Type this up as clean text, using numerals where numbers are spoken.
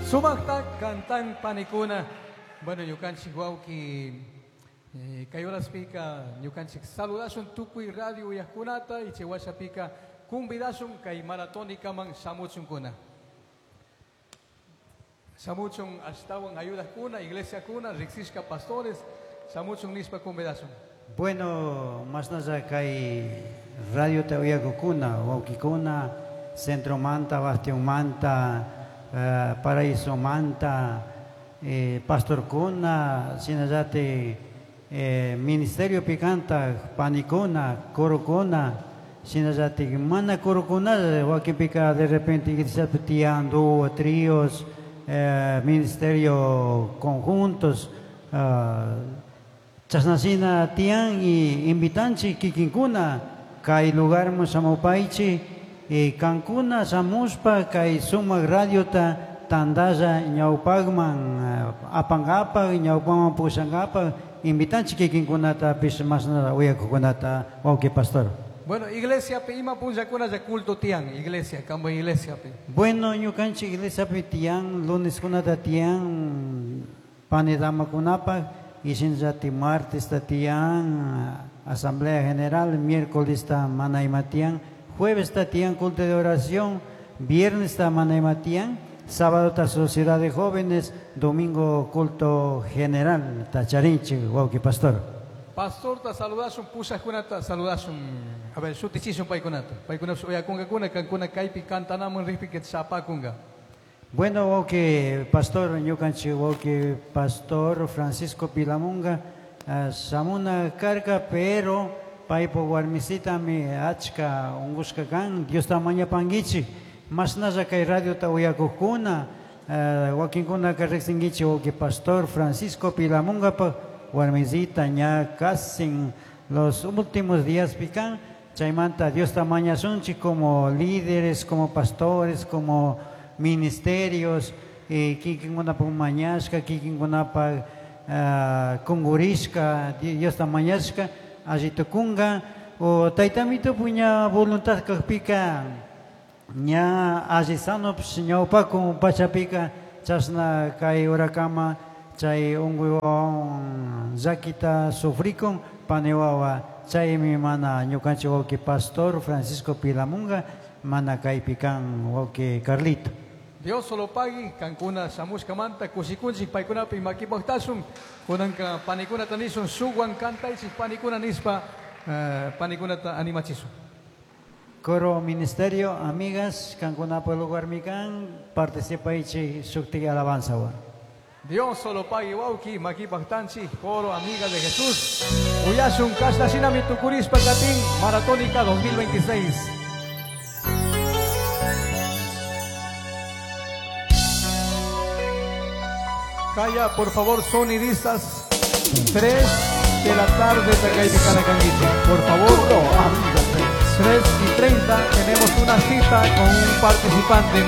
Sumaqta cantan panikuna. Bueno, ñukanchik wawki kay horaspika ñukanchik saludashun tukuy radio uyaqkunata y chay washapika convidashun kay maratónikaman shamuchunkuna. Shamuchun ashtawan ayudaqkuna, iglesiakuna, riqsishka pastores, shamuchun nishpa convidashun. Bueno, mashnalla kay radiota uyakukuna, wawkikuna, Centromanta, Bastionmanta, Paraisomanta, pastorkuna, shinallatik ministerio picanta, panikuna, corokuna, shinallatik mana corokuna, wakinpika de repente iglesiapi tiyan dúo, tríos, ministerio conjuntos, chashnashina tiyan y invitanchik kikinkuna kay lugarman shamupaychik y kankuna shamushpa kay sumak radiota tandalla ñawpakman apankapak, ñawpaman pushankapak, invitanchik kikinkunatapish mashnalla uyakukunata, wawki pastor. Bueno, iglesia pi ima punllakuna ya culto tiyan, iglesia, kambo iglesia pi. Bueno, ñukanchik iglesia pi tiyan, lunes kunata tiyan, panidamakunapaq, y shinallati martes ta tiyan, asamblea general, miércoles ta mana ima tiyan, jueves ta tiyan culto de oración, viernes ta mana ima tiyan, sábado ta sociedad de jóvenes, domingo culto general, ta charinchik, wawki pastor. Pastor ta saludashun, pushaqkunata saludashun. A ver, shutichishun paykunata. Paykunapish uyakunkakuna, kankuna kaypi cantanaman riqpi que shapakunka. Bueno, wawki pastor, ñukanchik wawki pastor Francisco Pilamunga, shamuna karka, pero paypa warmisitami achka unqushka kan, Diosta mañapankichik. Mashnalla kay radiota uyakuqkuna, wakinkunaka riqsinkichik wawki pastor Francisco Pilamungapaq warmisita ña casi en los últimos días pican, chaymanta Diosta mañasunchik como líderes, como pastores, como ministerios, kikinkunapaq mañashka, kikinkunapaq kungurishka, Diosta mañashka, alli tukunka, o taytamito puña voluntad kaqpika, ña alli sanopish ñawpakun pachapika, chashna kay urakama, chay unquywan llakita sufrikun, pani wawa, chaymi mana ñukanchik wawki pastor Francisco Pilamunga, mana kaypi kan wawki Carlito. Dios solo pagui, kankuna shamushkamanta, kushikunchik paykunapi makipaqtashun, kunanka panikunata nishun, shuwan kantaychik panikuna nishpa, panikunata animachishun. Coro Ministerio, amigas, kankunapa lugar mikan, participaychik shuktik alabanza wa. Dios solo pagui wawki, makipaqtanchik, coro amiga de Jesús. Uyashun kashtashinami tukurishpa katin, Maratónica 2026. Calla, por favor, sonidistas, 3 de la tarde, Takaipi Kanakanguichi. Por favor, 3:30, tenemos una cita con un participante.